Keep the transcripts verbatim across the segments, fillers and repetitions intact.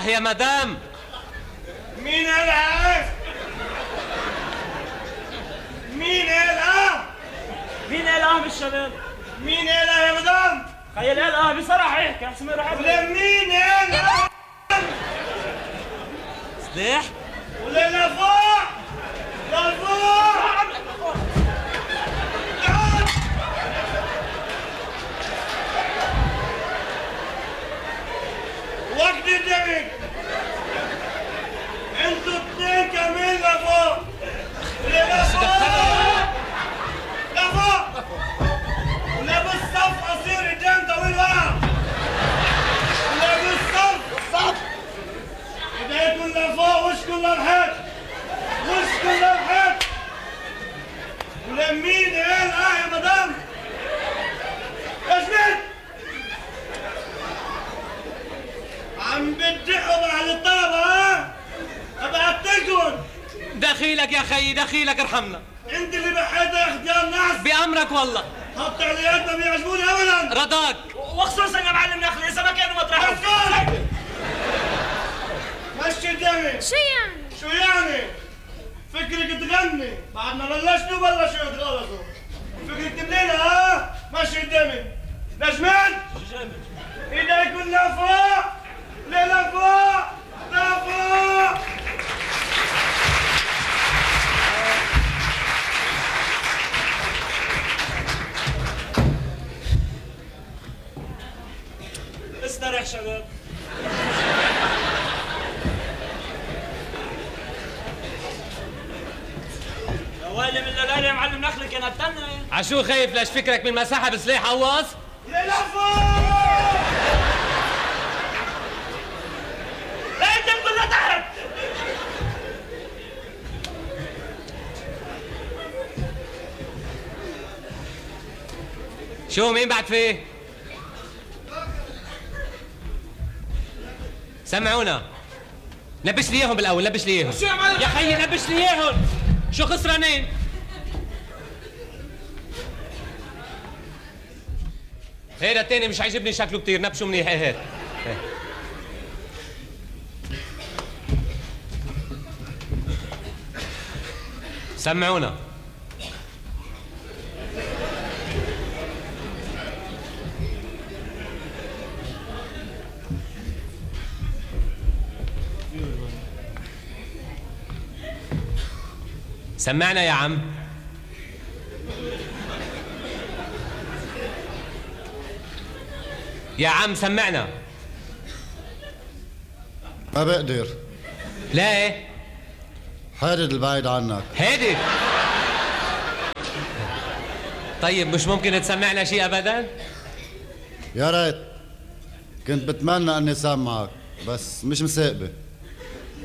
اه يا مدام. مين قالها؟ مين قالها؟ مين قال اه بالشباب؟ مين قالها يا مدام؟ خيال قال اه بصراحة هيك احسن ما يروح ولا مين قالها؟ سلاح؟ ولا لفوق؟ لفوق؟ وقت الدمج انتوا اتنين كمان لفوق. ولا لفوق؟ لفوق؟ ولا بالصف قصير قدام طويل ورا؟ ولا بالصف؟ بالصف؟ ايديكم لفوق وشكم للحيط. وشكم للحيط. ولا مين قال اه يا مدام؟ ايش مين؟ عم بتدقوا على الطلبة ها؟ ابقى قتلكن. دخيلك يا خيي دخيلك ارحمنا. انت اللي بحيت يا اختيار ناس. بأمرك والله. هالتعليقات ما بيعجبوني ابدا. رضاك. وخصوصا يا معلم نخلي اذا ما كانوا مطرحهم. مسكون. مشي الدمي. شو يعني؟ شو يعني؟ فكرك تغني بعد ما بلشتوا بلشوا يتغلطوا. فكرك تبلينا ها؟ مشي الدمي. نجمان؟ ايديكم لفوق. لفوق. لفوق. استريح شباب. يا ويلي من الليالي يا معلم نخلي كان هتنى. عشو خايف ليش فكرك من مساحة بسلاح قواص؟ لفوق. انت كلها تحت. شو مين بعد فيه؟ سمعونا. لبش لي اياهم بالاول لبش لي اياهم. شو يا معلم؟ يا خيي لبش لي اياهم. شو خسرانين؟ هيدا التاني مش عاجبني شكله كتير نبشوا منيح. هيك هيك سمعونا. سمعنا يا عم. يا عم سمعنا. ما بقدر. ليه؟ حارد البعيد عنك. هادي. طيب مش ممكن تسمعنا شيء ابدا؟ يا ريت كنت بتمنى اني سامعك بس مش مساقبة.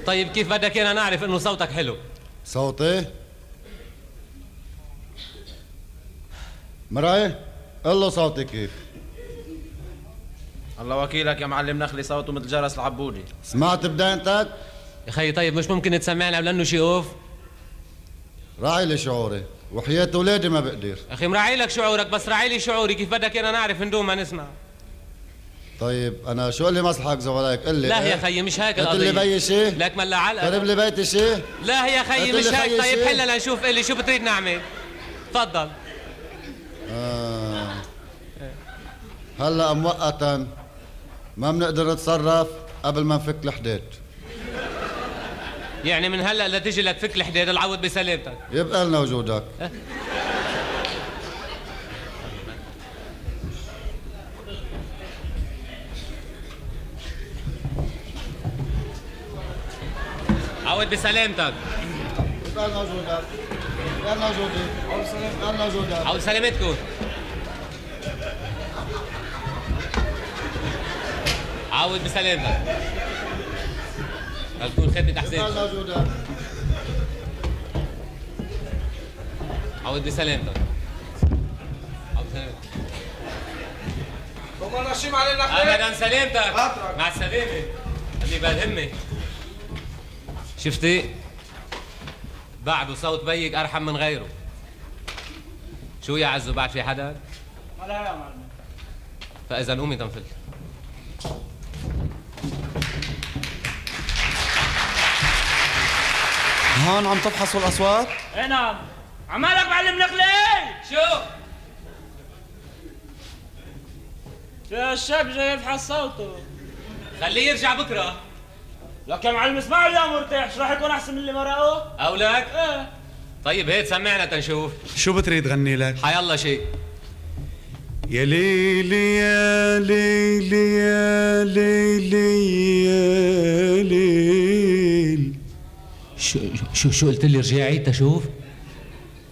طيب كيف بدك ايانا نعرف انه صوتك حلو؟ صوتي؟ مرعي قل له صوتي كيف. الله وكيلك يا معلم نخلي صوته مثل جرس العبودي. سمعت بدايتك؟ يا خيي طيب مش ممكن تسمعنا لانه شي اوف؟ راعي لي شعوري وحياة اولادي ما بقدر. اخي مراعي لك شعورك بس راعي لي شعوري. كيف بدك ايانا نعرف ندوم ما نسمع؟ طيب انا شو اللي مصلحك زولاك؟ قل لي. لا يا خيي مش هيك القضية. قلت لي بيي شيء؟ لك ملا علقة. قرب لي بيتي شيء؟ لا يا خيي مش هيك. خيي طيب شي؟ حلنا لنشوف. قل لي شو بتريد نعمل؟ تفضل. آه. هلا مؤقتا ما بنقدر نتصرف قبل ما نفك الحداد. يعني من هلا لتجي لتفك الحداد العوض بسلامتك. يبقى لنا وجودك. أه؟ عوض بسلامتك. يبقى لنا وجودك. يبقى لنا وجودي. يبقى لنا وجودك. عوض سلامتكم. عوض بسلامتك. هتكون خدمة أحسن. يبقى لنا وجودك. عوض بسلامتك. عوض بسلامتك. وما نشيم علينا خير. ابدا سلامتك. خاطرك. مع السلامه. خلي بالهمك. شفتي؟ بعده صوت بيك ارحم من غيره. شو يا عزو بعد في حدا؟ لا يا معلم. فاذا قومي تنفل. هون عم تفحصوا الاصوات؟ ايه نعم. عمالك معلم نخلي. شو؟ يا الشاب جاي يفحص صوته. خليه يرجع بكره. لك يا معلم اسمعوا اليوم مرتاح، شو راح يكون احسن من اللي مرقه؟ او لك؟ ايه. طيب هيك سمعنا تنشوف. شو بتريد غني لك؟ حيالله شيء. يا ليلي يا ليلي يا ليلي يا ليل. شو شو شو قلت لي رجع عيد تشوف؟